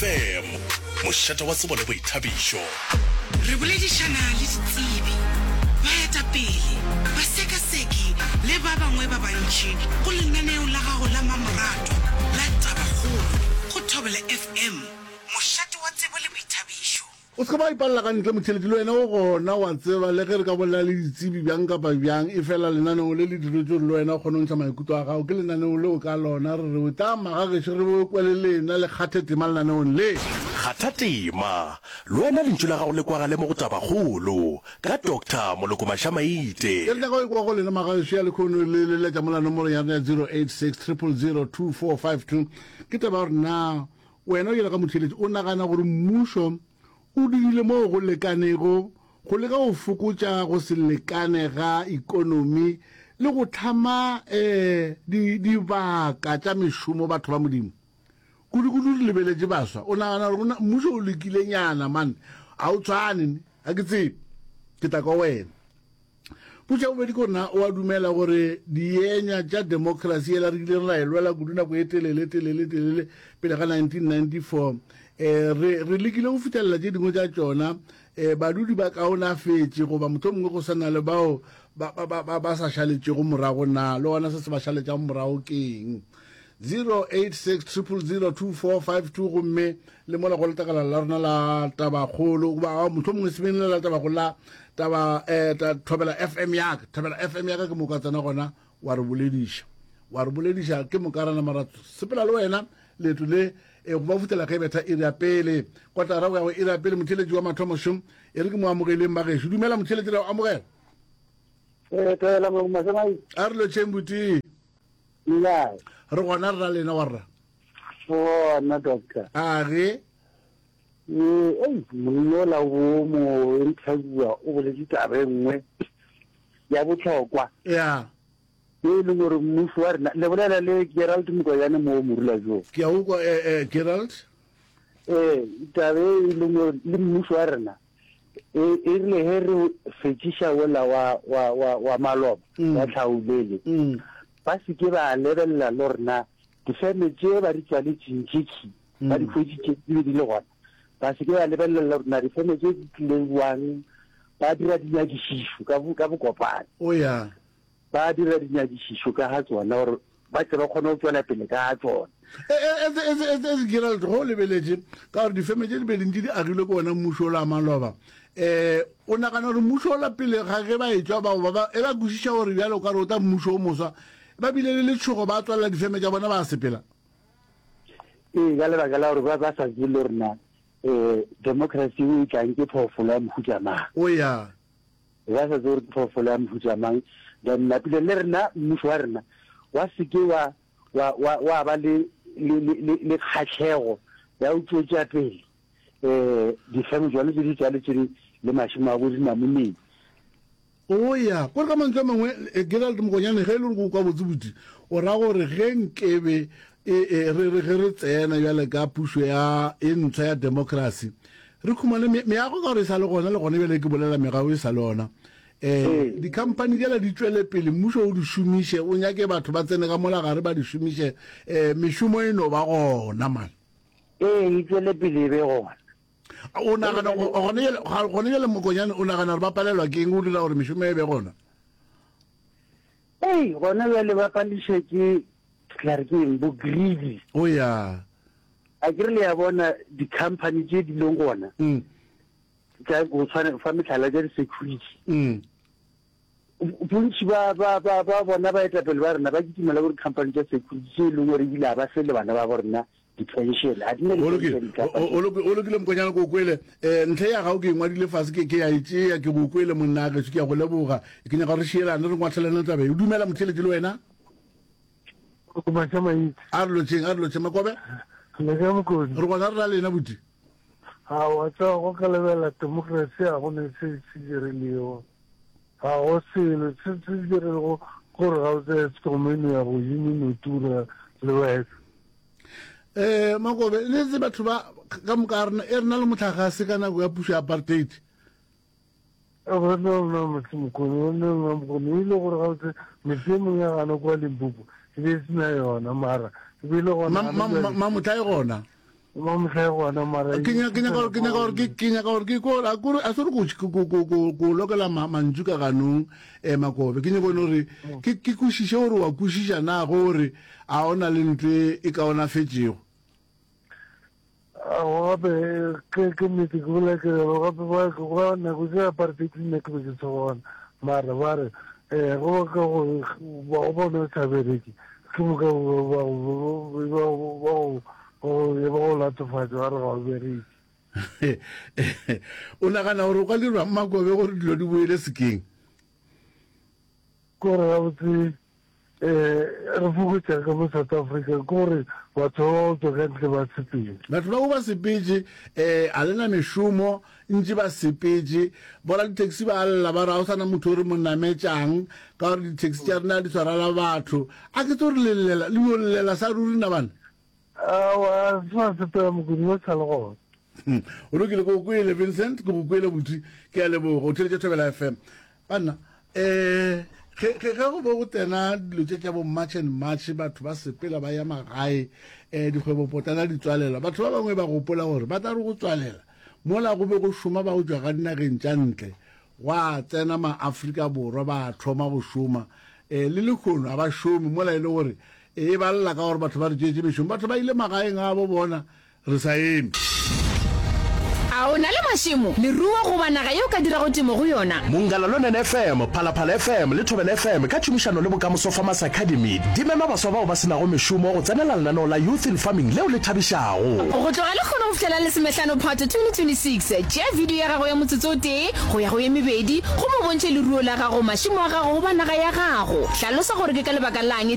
FM, mošate wa tsebo le boithabišo. Re boledišana le ditsebi, baetapele, basekaseki le ba bangwe ba bantši go lenaneo la gago la mamoratwa la Tabakgolo go Thobela FM, mošate wa tsebo le boithabišo. O se ke wa ipalela ka ntle, motheeletši, le wena o gona, wa tseba, le ge re ka bolela le ditsebi bjang kapa bjang, efela lenaneo le le diretšwe gore le wena o kgone go ntšha maikutlo a gago. Ke lenaneo leo ka lona re re tla magagešo re be kwe le lena le kgathe tema lenaneong le. Kgatha tema, le wena lentšu la gago le kwagale mo go Tabakgolo, ka Doctor Moloko Mashamaite. Ke re nyaka go ekwa go lena magagešo ya lekhono le leletša mola nomorong ya rena ya 086 000 2452. Ke taba ya gore na Wena o bjalo ka motheeletši o nagana gore mmušo o dirile mo go lekanego go leka go fokotša go se lekane ga ekonomi le go hlama dibaka tša mešomo batho ba Modimo? Kudu-kudu re lebeletše baswa. O nagana gore mmušo o lekilenyana man? Ga o tshwane ne? Ga ke tsebe. Ke tla kwa wena. Potšo ya bobedi ke gore na o a dumela gore dienya tša demokrasi yela re kileng ra e lwela kudu nako e telele telele telele pele ga 1994 eh, re, re lekile go fihlelela tše dingwe tša tšona eh, badudi ba kaonafetše goba mohlomongwe go sa na le bao ba, ba, ba, ba, ba sa šaletšego morago na le gona se se ba šaletšago morago ke eng 086 000 2452 gomme le mola go letlakala la rena la tabakgolo goba mohlomongwe se beng le la tabakgolo la taba eh, ta, thobela fm yaka thobela fm yaka ke moka tsena gona wa re bolediša wa re bolediša ke moka rena mara sepela le wena leeto le e go ba futela ge betha iri ya pele kotara go ya go iri ya pele motheletši wa mathomo šo e re ke mo amogeleng bagešo dumela motheletši ra o amogela Eh, thobela Molomo a re lotšheng botee Le kae? Re gona rra lena wa rra. Gona doctor. A ge. Ee, ei, monna ola o mo interviewa o boletše taba e nngwe ya bohlokwa. Ya. E leng gore mmušo wa rena, le bolela le Gerald Mokoyane mo Morula jo. Ke a ukwa eh, eh, Gerald. Ee, taba e leng gore le mmušo wa rena E, e rile ge re fetšiša wola wa, wa, wa, wa maloba, mm. wa tlhaolele, mm. ba se ke ba lebelela le rena difeme tše ba di tswaletšeng tše khi, mm. ba di hweditše di be di le gona. Ba se ke ba lebelela le rena difeme tše di tlileng jwang, ba dira dinyakišišo ka, ka bokopane. Oh, yeah. Ba dira dinyakišišo ka ga tsona gore ba tle ba kgone go tšwela pele ka ga tsona. Etse Gerald, ge o lebeletše ka gore difeme tše di be dintši di agilwe ke wona mmušo ola wa maloba, um o nagana gore mmušo ola pele ga ge ba etšwa bao ba ba e ba kwešiša gore bjale o ka re o tla mmušo o moswa, ba bile le letšhogo ba tswalela difeme tša bona ba sepela? Ee, ka lebaka la gore ba ba sa tsebe le gore na um democracy e tlang ke phoofolo ya mohuta mang. O ya. Ba sa tsebe gore ke phoofolo ya mohuta mang. Then napile le rena mmušo wa rena wa se ke wa, wa, wa, wa ba le, le, le, le, le kgahlego ya go tšwetša pele um difeme tšona tše di tswaletšeng le mašemo a bo dinamoneng. O ya kore ka mantswe a mangwe, Gerald Mokonyane, ge e le gore ke o kwa botse buti, o ra gore ge nkebe e, e, re re ge re tsena bjale ka pušo ya e ntshwa ya democracy, Re khumane me, meago ka gore e sa le gona, le gona bjale ke bolela megago e sa le gona. Eh, dikhamphani tšela di tšwele pele, mmušo o di šomiše, o nyake batho ba tsene ka mola gare ba di šomiše, eh, mešomo e no ba gona man. Ee, e tšwele pele e be gona. O nagana gone bjale, gone bjale Mokonyane, o nagana gore ba palelwa ke eng go dira gore mešomo e be gona? Ei, gona bjale ba pališwa ke, ke tla re ke eng, bo greedy. O ya. Akere le a bona di-company tše di leng gona tša go tshwana fa mehlala tša di-security. Bontši ba ba ba ba bona baetapele ba rena ba kitimela go di-company tša security tše e leng gore ebile ga ba fe le bana ba bo rena di-pension. Ga di na di-pension di-company. O lokile Mokonyana ke o kwele. Um ntlha ya gago ke e ngwadile fase ke ke ya e tšea ke go kwele monna gešo ke ya go leboga. Ke nyaka gore re šielane re ngwathelane taba e. O dumela motheeletši le wena? Maša maitse. A re lotšheng, a re lotšheng Makobe. Le ka Mokoni. Re gona re ra lena buti. A wa tseba go ka lebelela democracy ga go ne se se dirilego. Ga go selo se se dirilego gore ga o tseye Eskom e no ya godimo e no tura le wena. Eh Makobe, le tse batho ba ka moka rena e rena le motlakgase ka nako ya pušo ya apartheid. Go ne lona motse Mokone, go ne lona Mokone. E ile gore gabotse metse e mengwe ya gana kwa Limpopo e be e se na yona, mara e be e le gona. Mamotla e gona. Mamohla e gona mara Ke nyaka ke nyaka gore ke nyaka gore ke ke nyaka gore ke ko a kore a se re go go go go go lokela mantšu ka ganong eh Makobe ke nyaka gore ke ke kwešiše gore wa kwešiša na gore a o na le ntlo e kaonafetšego. Aowa gape ke ke nnete ke bolela ke re gape ba ba nako tse apartheid nna ke be ke se gona mara ba re eh go ba ka go ba go bona o sa bereke ke moka ba ba ba ba go e ba go latofatša ba re ga o bereke. O nagana gore o ka dirwa Mmakobe gore dilo di boele sekeng? Ke gore gabotse um re fokotša ka mo South Africa ke gore batho ba ba tswa ka ntle ba sepele. Batho bao ba sepetše um a le na mešomo ntše ba sepetše. Boraditaxi ba lla ba re ga o sa na motho o re mo nametšang ka gore di-taxi tša rena di tshwarela batho. A ke tso re le llela le yo llela sa ruri na bana? Aowa, se sa sepela Mokudi, ba sa le gona. Hmm. O lokile, ke go kwele Vincent, ke go kwele buti, ke a leboga. O theletše Thobela FM. Banna, eh ge ge ge go be go tsena dilo tše tša bo March and March, batho ba sepela ba ya magae, eh dikgwebopotlana di tswalelwa. Batho ba bangwe ba gopola gore ba tla re go tswalela mola go be go šoma ba go tšwa ga dinageng tša ntle, gwa tsena ma-Afrika Borwa ba thoma go šoma. Eh le lehono ga ba šome mola e le gore E ba lla ka gore batho ba re tšeetše mešomo. Batho ba ile magaeng a bo bona re sa eme. A o na le mašemo, leruo goba naga ye o ka dirago temo go yona? Mongala Lonene FM, Phalaphala FM le Thobela FM ka tšhomišano le Bokamoso Farmers Academy di mema baswa bao ba se nago mešomo go tsenela lenaneo la Youth in Farming leo le thabišago. Go tloga lekgono go fihlela lesomehlano Phato 2026, tšea video ya gago ya motsotso o tee go ya go ye mebedi gomme o bontšhe leruo la gago, mašemo a gago goba naga ya gago. Hlalosa gore ke ka lebaka la'ng.